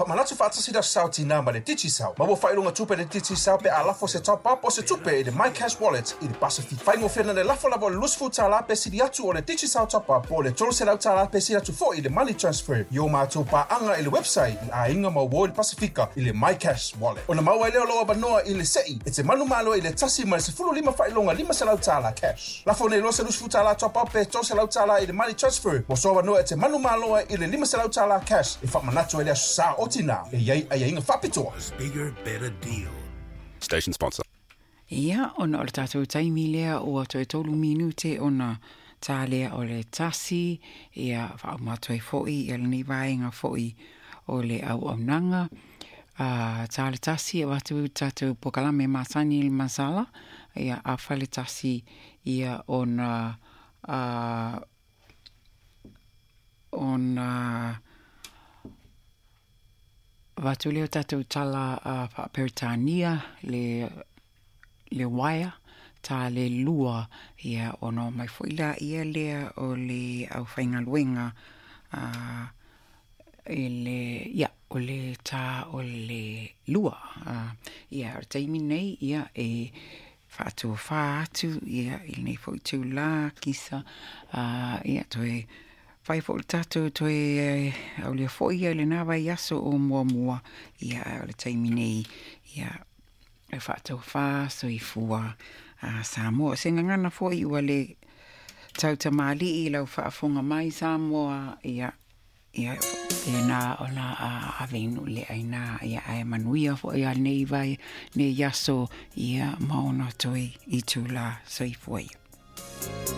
Faamanatu faatasi le Aso Sa o Tinā ma le Digicel. Maua faailoga tupe i le Digicel pe a lafo se top up o se tupe i le MyCash Wallet i le Pasifika. Faigofie na le lafo lava o le $20 pe sili atu o le Digicel top up po o le $300 pe sili atu foi i le money transfer i o matou paaga i le website i aiga ma uo i le Pasifika i le MyCash Wallet. Ona maua ai lea o lou avanoa i le se'i e te manumalo ai i le 1 ma le 15 faailoga $500 cash. Lafo nei loa se $20 top up pe $300 i le money transfer mo sou avanoa e te manumalo ai i le $500 cash e faamanatu ai le Aso Sa o Tinā e i ai aiaiga faapitoa. Bigger, better deal. Station sponsor. Ia, ona o le tatou taimi lea ua toe 3 minute ona tā lea o le 1, ia faauma atu ai foi ia lenei vaega foi o le auaunaga. A tā le 1 e avatu le tatou polokalame masani i le masala, ia afa le 1 ia ona ona avatu lea o tatou tala faa-Peretania le uaea ta le 2, ia ona omai foi laia lea o le aufaigaluega i le, ia, o le tā o le 2. Ia, o le taimi nei, ia, e faatofā atu, ia, i lenei foi itulā, kisa, ia, toe fai foi le tatou toe aulia foi ia i lena vaiaso o muamua, ia, ae o le taimi nei, ia, e faatofā soifua Samoa. O se gagana foi ua le tautamalii i lau faafofoga mai Samoa, ia, ia faapena ona ave i nuu le aina, ia ae manuia foi a nei vai nei aso, ia ma ona toe itulā. Soifua ia.